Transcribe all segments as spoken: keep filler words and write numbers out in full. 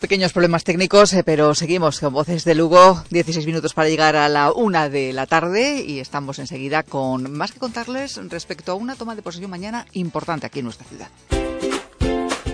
Pequeños problemas técnicos, eh, pero seguimos con Voces de Lugo, dieciséis minutos para llegar a la una de la tarde y estamos enseguida con más que contarles respecto a una toma de posesión mañana importante aquí en nuestra ciudad.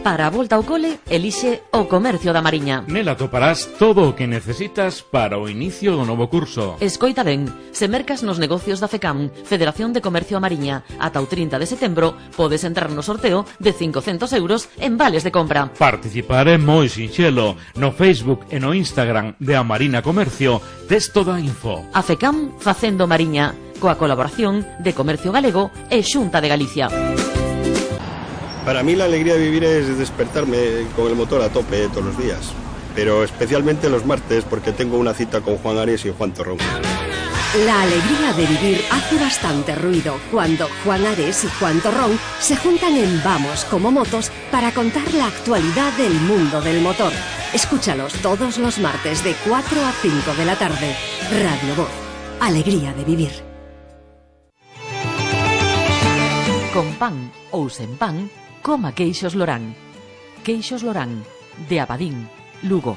Para a volta ao cole, elixe o Comercio da Mariña. Nela toparás todo o que necesitas para o inicio do novo curso. Escoita ben, se mercas nos negocios da FECAM, Federación de Comercio a Mariña, ata o trinta de setembro, podes entrar no sorteo de cincocentos euros en vales de compra. Participar é moi sinxelo. No Facebook e no Instagram de A Marina Comercio tes toda a info. A FECAM facendo Mariña, coa colaboración de Comercio Galego e Xunta de Galicia. Para mí la alegría de vivir es despertarme con el motor a tope todos los días, pero especialmente los martes porque tengo una cita con Juan Ares y Juan Torrón. La alegría de vivir hace bastante ruido cuando Juan Ares y Juan Torrón se juntan en Vamos como Motos para contar la actualidad del mundo del motor. Escúchalos todos los martes de cuatro a cinco de la tarde. Radio Voz. Alegría de vivir. Con pan ou sen pan, coma queixos Lorán. Queixos Lorán, de Abadín, Lugo.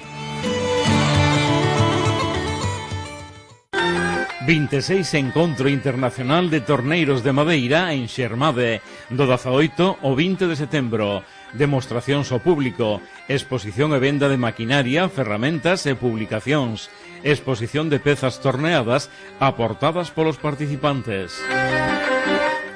vinte e seis Encontro Internacional de Torneiros de Madeira en Xermade, do dezaoito ao vinte de setembro. Demostracións ao público, exposición e venda de maquinaria, ferramentas e publicacións, exposición de pezas torneadas aportadas polos participantes.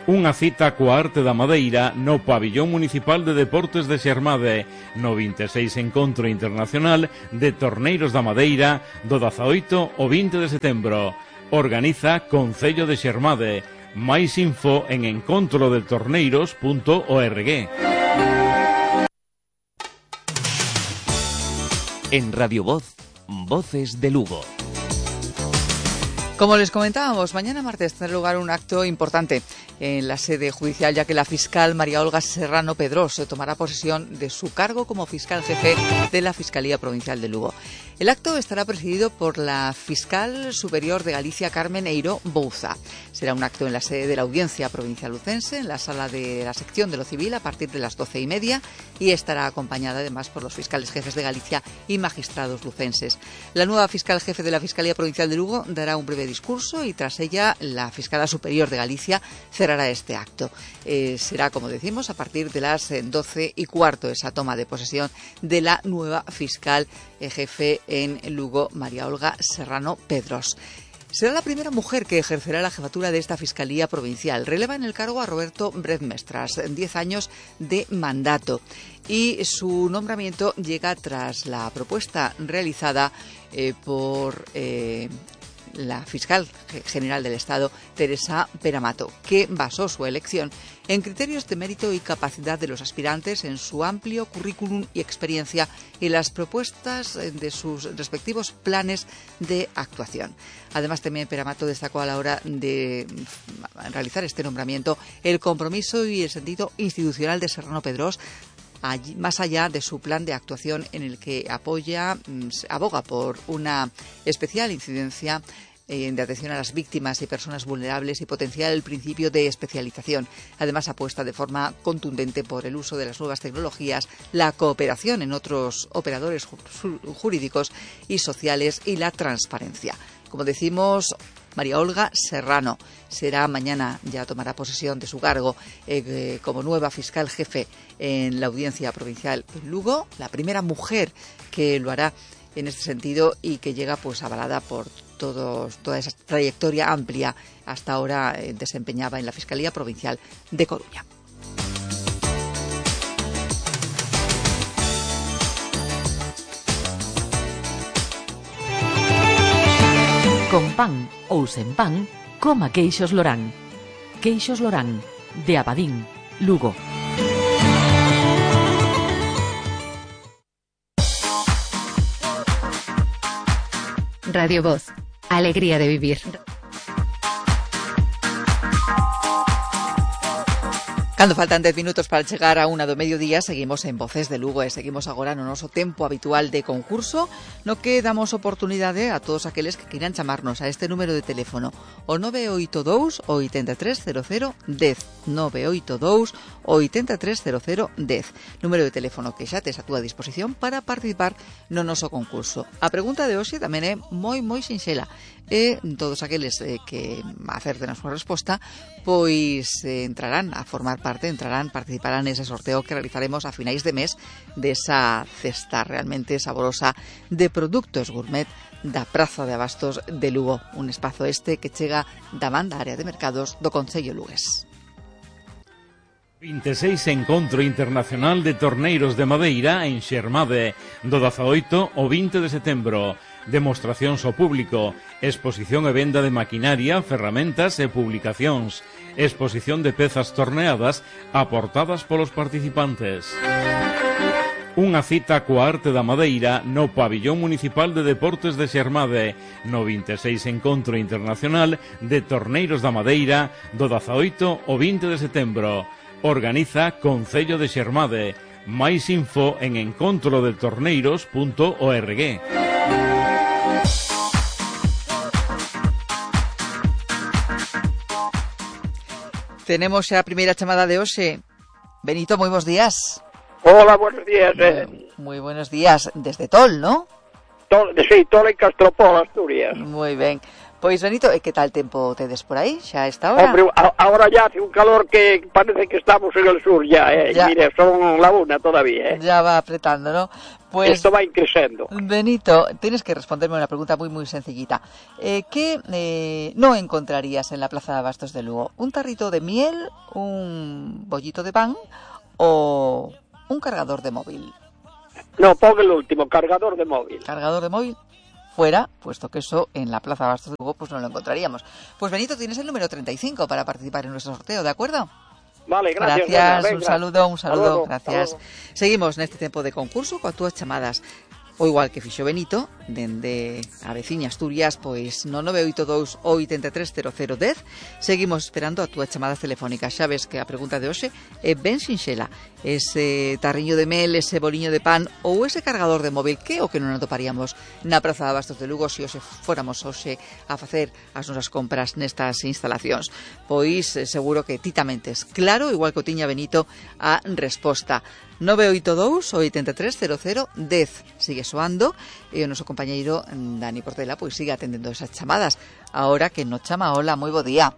Unha cita coa arte da madeira no Pabillón Municipal de Deportes de Xermade, no vinte e seis Encontro Internacional de Torneiros da Madeira, do dezaoito ao vinte de setembro. Organiza Concello de Xermade. Máis info en encontro de torneiros punto org. En Radio Voz, Voces de Lugo. Como les comentábamos, mañana martes tendrá lugar un acto importante en la sede judicial, ya que la fiscal María Olga Serrano Pedros tomará posesión de su cargo como fiscal jefe de la Fiscalía Provincial de Lugo. El acto estará presidido por la fiscal superior de Galicia, Carmen Eiro Bouza. Será un acto en la sede de la Audiencia Provincial Lucense, en la sala de la sección de lo civil, a partir de las doce y media, y estará acompañada además por los fiscales jefes de Galicia y magistrados lucenses. La nueva fiscal jefe de la Fiscalía Provincial de Lugo dará un breve discurso y tras ella la fiscala superior de Galicia cerrará este acto. Eh, será, como decimos, a partir de las doce y cuarto esa toma de posesión de la nueva fiscal eh, jefe en Lugo, María Olga Serrano Pedros. Será la primera mujer que ejercerá la jefatura de esta Fiscalía Provincial. Releva en el cargo a Roberto Bredmestras, diez años de mandato. Y su nombramiento llega tras la propuesta realizada eh, por eh, la fiscal general del Estado, Teresa Peramato, que basó su elección en criterios de mérito y capacidad de los aspirantes, en su amplio currículum y experiencia y las propuestas de sus respectivos planes de actuación. Además, también Peramato destacó a la hora de realizar este nombramiento el compromiso y el sentido institucional de Serrano Pedros, allí, más allá de su plan de actuación en el que apoya, aboga por una especial incidencia de atención a las víctimas y personas vulnerables y potenciar el principio de especialización. Además, apuesta de forma contundente por el uso de las nuevas tecnologías, la cooperación en otros operadores jurídicos y sociales y la transparencia. Como decimos, María Olga Serrano será mañana, ya tomará posesión de su cargo eh, como nueva fiscal jefe en la Audiencia Provincial en Lugo, la primera mujer que lo hará en este sentido y que llega pues avalada por todos, toda esa trayectoria amplia hasta ahora eh, desempeñaba en la Fiscalía Provincial de Coruña. Con pan ou sen pan, coma queixos Lorán. Queixos Lorán, de Abadín, Lugo. Radio Voz. Alegría de vivir. Cando faltan dez minutos para chegar a unha do mediodía, seguimos en Voces de Lugo e seguimos agora no noso tempo habitual de concurso, no que damos oportunidade a todos aqueles que queiran chamarnos a este número de teléfono, o nove oito dous, oito tres cero cero, dez, nove oito dous, oito tres cero cero, dez, número de teléfono que xa tes a túa disposición para participar no noso concurso. A pregunta de hoxe tamén é moi, moi sinxela, e todos aqueles eh, que acerten a súa resposta, pois eh, entrarán a formar parte, entrarán, participarán nese sorteo que realizaremos a finais de mes desa cesta realmente saborosa de produtos gourmet da Praza de Abastos de Lugo, un espazo este que chega da man da área de mercados do Concello lugués. vinte e seis Encontro Internacional de Torneiros de Madeira en Xermade, do dezaoito ao vinte de setembro. Demostracións ao público, exposición e venda de maquinaria, ferramentas e publicacións, exposición de pezas torneadas aportadas polos participantes. Unha cita coa arte da madeira no Pabillón Municipal de Deportes de Xermade, no vinte e seis Encontro Internacional de Torneiros da Madeira, do dezaoito ao vinte de setembro. Organiza Concello de Xermade. Máis info en encontro de torneiros punto org. Tenemos a primeira chamada de hoxe. Benito, moi bons días. Hola, buenos días. Eh. Moi buenos días. Desde Tol, ¿no? Tol, sí, Tol en Castropol, Asturias. Moi ben. Pois, Benito, e que tal tempo tedes por aí? Xa a esta hora? Hombre, a, ahora ya hace un calor que parece que estamos en el sur ya, eh. Ya. Mire, son la una todavía, eh. Ya va apretando, ¿no? Pues, esto va increciendo. Benito, tienes que responderme una pregunta muy, muy sencillita. Eh, ¿Qué eh, no encontrarías en la Plaza de Abastos de Lugo? ¿Un tarrito de miel, un bollito de pan o un cargador de móvil? No, pon el último, cargador de móvil. ¿Cargador de móvil? Fuera, puesto que eso en la Plaza de Abastos de Lugo pues no lo encontraríamos. Pues Benito, tienes el número treinta y cinco para participar en nuestro sorteo, ¿de acuerdo? Vale, gracias. Gracias, venga, un saludo, un saludo, luego, gracias. Seguimos neste tempo de concurso coas túas chamadas. O igual que fixo Benito, dende a veciña Asturias, pois no nove oito dous, oito tres cero cero, dez, seguimos esperando a túas chamadas telefónicas. Xa ves que a pregunta de hoxe é ben sinxela. Ese tarriño de mel, ese boliño de pan ou ese cargador de móvil, que o que non atoparíamos na Praza de Abastos de Lugo se hoxe fóramos hoxe a facer as nosas compras nestas instalacións. Pois seguro que ti tamén tes claro, igual que o tiña Benito, a resposta. nove oito dous, oito tres cero cero, dez. Sigue soando e o noso compañeiro Dani Portela pois sigue atendendo esas chamadas. Ahora que nos chama, hola, moi bo día.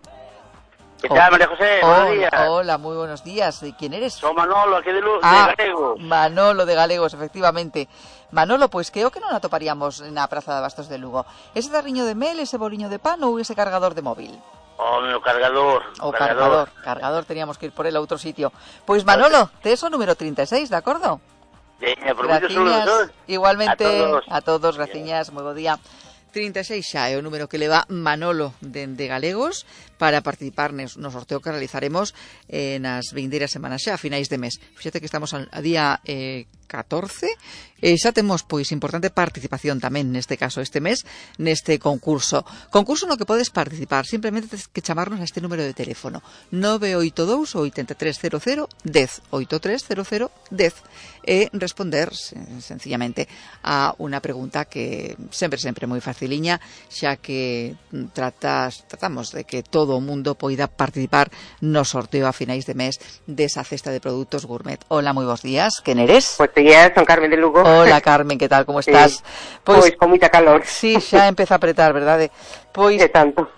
¿Qué tal, María José? Buenos Hola, días. hola, muy buenos días. ¿Y quién eres? Soy Manolo, aquí de, Luz, ah, de Galegos. Manolo de Galegos, efectivamente. Manolo, pois creo que non atoparíamos na Praza de Abastos de Lugo. Ese tarriño de mel, ese boliño de pan ou ese cargador de móvil? O meu cargador. O cargador, cargador, cargador, teníamos que ir por él a outro sitio. Pois Manolo, te eso número treinta e seis, de acordo? Veña, por graciñas, igualmente, a todos, a todos graciñas, moi bo día. trinta e seis xa é o número que leva Manolo de, de Galegos para participar no sorteo que realizaremos eh, nas vindeiras semanas xa, a finais de mes. Fíxate que estamos a, a día eh, catorce e xa temos pois importante participación tamén neste caso este mes neste concurso. Concurso no que podes participar, simplemente tens que chamarnos a este número de teléfono nove oito dous, oito tres cero cero, dez, oito tres cero cero, dez e responder sencillamente a unha pregunta que sempre sempre moi faciliña, xa que tratas, tratamos de que todo o mundo poida participar no sorteo a finais de mes desa cesta de produtos gourmet. Hola, moi bons días, quen eres? Pues días, son Carmen de Lugo. Hola, Carmen, que tal, como estás? Sí. Pois, pois con moita calor. Sí, xa empeza a apretar, verdade? Pois,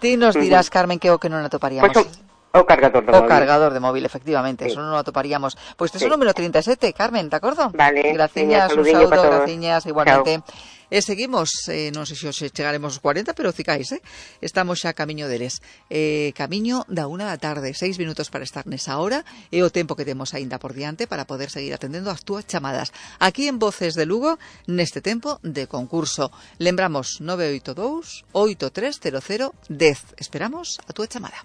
ti nos dirás, Carmen, que o que non atoparíamos. Pois o, o cargador de o móvil. O cargador de móvil, efectivamente, sí. Eso non o atoparíamos. Pois tes sí. O número trinta e sete, Carmen, de acordo? Vale. Graciñas, un saúdo, graciñas, igualmente. Chao. E seguimos, eh, non sei se hoxe chegaremos aos cuarenta, pero cicais, eh? Estamos xa camiño deles. Eh, camiño da unha da tarde, seis minutos para estar nesa hora, e o tempo que temos aínda por diante para poder seguir atendendo as túas chamadas. Aquí en Voces de Lugo, neste tempo de concurso. Lembramos nove oito dous, oito tres cero cero, dez. Esperamos a túa chamada.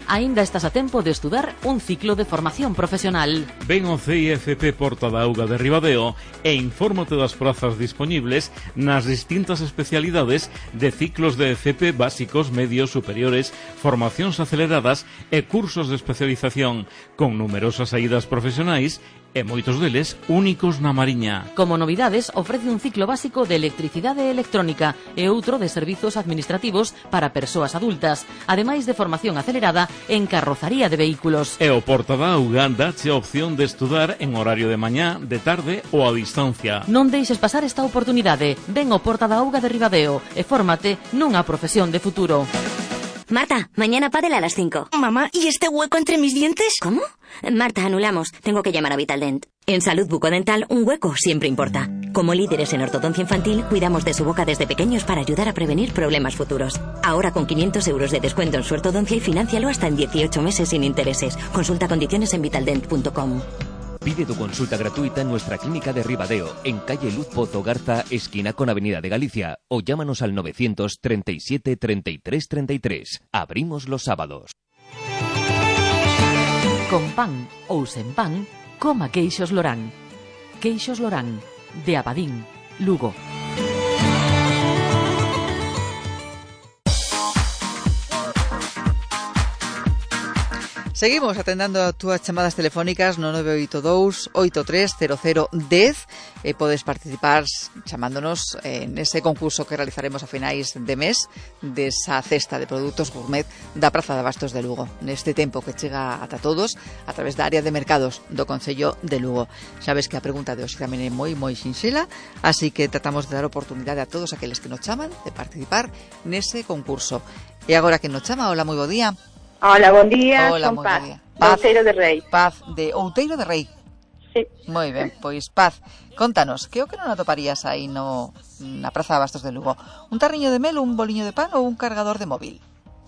Aínda estás a tempo de estudar un ciclo de formación profesional. Ven ao C I F P Porta da Auga de Ribadeo e infórmate das prazas dispoñibles nas distintas especialidades de ciclos de F P básicos, medios, superiores, formacións aceleradas e cursos de especialización, con numerosas saídas profesionais e moitos deles únicos na Mariña. Como novidades, ofrece un ciclo básico de electricidade e electrónica e outro de servizos administrativos para persoas adultas, ademais de formación acelerada en carrozaría de vehículos. E o Porta da Auga dache a opción de estudar en horario de mañá, de tarde ou a distancia. Non deixes pasar esta oportunidade. Ven ao Porta da Auga de Ribadeo e fórmate nunha profesión de futuro. Marta, mañana pádel a las cinco. Mamá, ¿y este hueco entre mis dientes? ¿Cómo? Marta, anulamos. Tengo que llamar a Vitaldent. En Salud Bucodental, un hueco siempre importa. Como líderes en ortodoncia infantil, cuidamos de su boca desde pequeños para ayudar a prevenir problemas futuros. Ahora con quinientos euros de descuento en su ortodoncia y financialo hasta en dieciocho meses sin intereses. Consulta condiciones en vitaldent punto com. Pide tu consulta gratuita en nuestra clínica de Ribadeo, en calle Luz Pozo Garza, esquina con Avenida de Galicia, o llámanos al novecientos treinta y siete treinta y tres treinta y tres. Abrimos los sábados. Con pan ou sen pan, coma queixos Lorán. Queixos Lorán, de Abadín, Lugo. Seguimos atendendo a túas chamadas telefónicas no nove oito dous oito tres cero cero dez e podes participar chamándonos en ese concurso que realizaremos a finais de mes desa cesta de produtos gourmet da Praza de Abastos de Lugo, neste tempo que chega ata todos a través da área de mercados do Concello de Lugo. Sabes que a pregunta de hoxe tamén é moi moi sinxela, así que tratamos de dar oportunidade a todos aqueles que nos chaman de participar nese concurso. E agora que nos chama, hola, moi bo día. Hola, bon día, Hola, son Paz, Paz, Paz, Outeiro de Rei. Paz, de Outeiro de Rei. Sí. Moi ben, pois Paz, contanos, que o que non atoparías aí no, na Praza de Abastos de Lugo? Un tarriño de mel, un boliño de pan ou un cargador de móvil?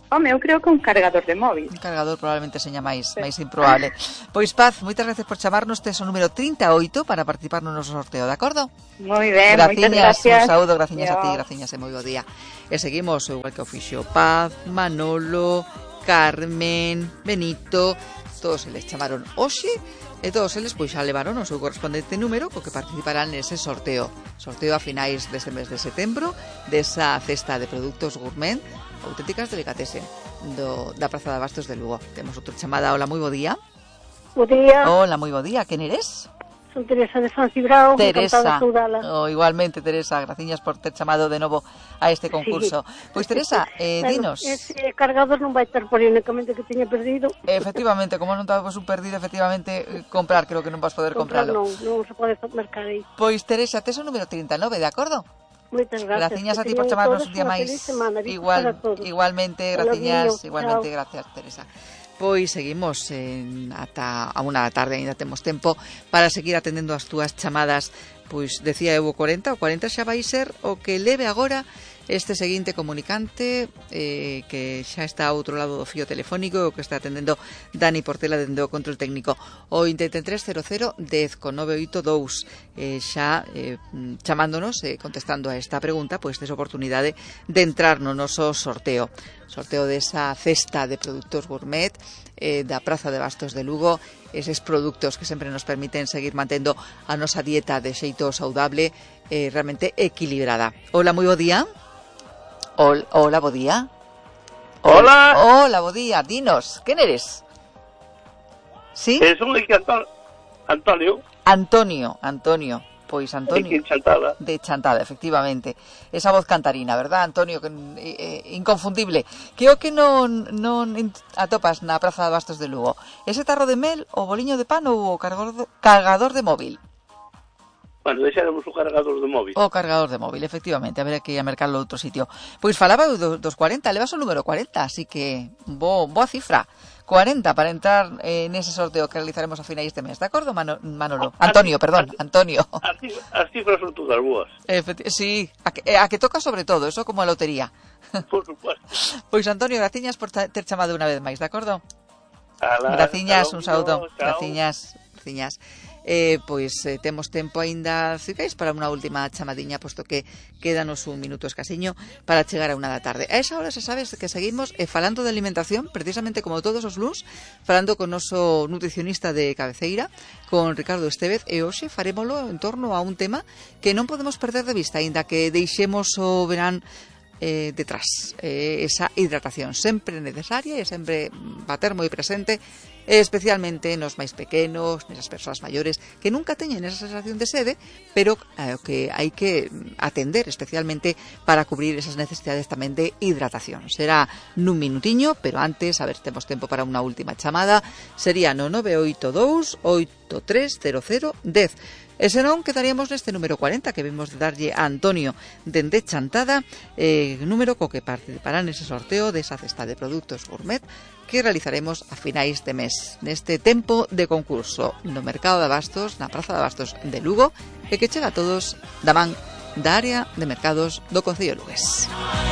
Home, eu creo que un cargador de móvil. Un cargador probablemente seña máis, sí. máis improbable. Pois Paz, moitas gracias por chamarnos, tes o número trinta e oito para participar no noso sorteo, de acordo? Moi ben, graciñas, moitas gracias. Un saúdo, graciñas Yo. a ti, graciñas e moi bo día. E seguimos, igual que o fixo Paz, Manolo, Carmen, Benito, todos eles chamaron hoxe e todos eles pois xa levaron o seu correspondente número co que participarán nese sorteo. Sorteo a finais deste mes de setembro desa cesta de produtos gourmet auténticas delicatessen do, da Praza de Abastos de Lugo. Temos outra chamada. Hola, moi bo día. Bo día. Hola, moi bo día. Quen eres? Son Teresa de San Cibrao. Teresa, oh, igualmente Teresa, graciñas por ter chamado de novo a este concurso. Sí. Pois Teresa, eh, bueno, dinos. Ese cargador non vai ter por únicamente que teña perdido. Efectivamente, como non temos un perdido, efectivamente, comprar, creo que non vas poder comprar, compralo. Non, non se pode mercar aí. Pois Teresa, tes o número trinta e nove, de acordo? Moitas gracias. Graciñas a ti por chamarnos un día máis. Igual, igualmente, graciñas, igualmente, chao. Gracias, Teresa. Pois seguimos en, ata a unha da tarde, ainda temos tempo para seguir atendendo as túas chamadas. Pois decía eu o corenta, o corenta xa vai ser o que leve agora este seguinte comunicante eh, que xa está ao outro lado do fío telefónico, o que está atendendo Dani Portela dende o control técnico, o vinte e tres cero cero dez con nove oito dous, eh, xa eh, chamándonos e eh, contestando a esta pregunta, pois tes oportunidade de entrar no noso sorteo sorteo desa cesta de produtos gourmet eh, da Praza de Abastos de Lugo, eses produtos que sempre nos permiten seguir mantendo a nosa dieta de xeito saudable, eh, realmente equilibrada. Hola, moi bo día. Hola, hola, bo día. Hola. Hola, bo día. Dinos, quen eres? ¿Sí? Eh, son aquí Antonio. Antonio, Antonio. Pois Antonio. De Chantada. De Chantada, efectivamente. Esa voz cantarina, verdad, Antonio? Que, eh, inconfundible. Que o que non, non atopas na Praza de Abastos de Lugo? Ese tarro de mel, o boliño de pan ou o cargador de, cargador de móvil? Bueno, deixaremos o cargador de móvil. O cargador de móvil, efectivamente. Haberá que ir a mercarlo a outro sitio. Pois falaba do, dos cuarenta, levas o número cuarenta, así que bo, boa cifra. cuarenta para entrar eh, nese sorteo que realizaremos a finais de mes, de acordo, Mano, Manolo? Antonio, perdón, Antonio. As cifras, as cifras son todas boas. Efecti- sí, a que, a que toca sobre todo, eso como a lotería. Por supuesto. Pois Antonio, graciñas por ter chamado unha vez máis, de acordo? Ala, graciñas, un saúdo. chao. Graciñas, graciñas. eh, pois eh, temos tempo aínda, se queres, para unha última chamadiña, posto que quédanos un minuto escasiño para chegar a unha da tarde. A esa hora, se sabes que seguimos eh, falando de alimentación, precisamente como todos os luns, falando con noso nutricionista de cabeceira, con Ricardo Estevez, e hoxe farémolo en torno a un tema que non podemos perder de vista, aínda que deixemos o verán eh, detrás, eh, esa hidratación sempre necesaria e sempre bater moi presente, especialmente nos máis pequenos, nesas persoas maiores que nunca teñen esa sensación de sede, pero eh, que hai que atender especialmente para cubrir esas necesidades tamén de hidratación. Será nun minutiño, pero antes, a ver se temos tempo para unha última chamada, sería no nove oito dous oito tres cero cero un cero. E senón quedaríamos neste número cuarenta que vimos de darlle a Antonio dende Chantada, eh, número co que participará nese sorteo desa cesta de produtos gourmet que realizaremos a finais de mes, neste tempo de concurso no Mercado de Abastos, na Praza de Abastos de Lugo, e que chega a todos da man da área de mercados do Concello de Lugués.